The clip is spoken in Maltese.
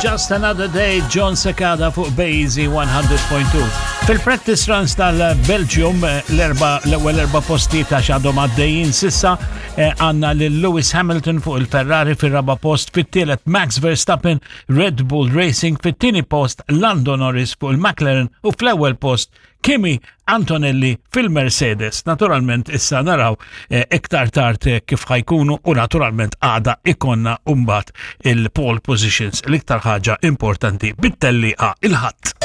Just Another Day, Jon Secada fuq Bazy 100.2. Fil-practice runs tal-Belgium, eh, l-erba l-ewwel erba' postijiet għax għadhom għaddejjin sissa eh, għandna lil Lewis Hamilton fuq il-Ferrari fir-raba' post, fit-tielet Max Verstappen Red Bull Racing, fit-tieni post Lando Norris fuq il-McLaren u fl-ewwel post Kimi Antonelli fil-Mercedes. Naturalment issa naraw eh, iktar tard eh, kif ħajkunu u naturalment għada ikonna umbat il-pole positions l-iktar ħaġa importanti bit-tellieqa il-ħadd.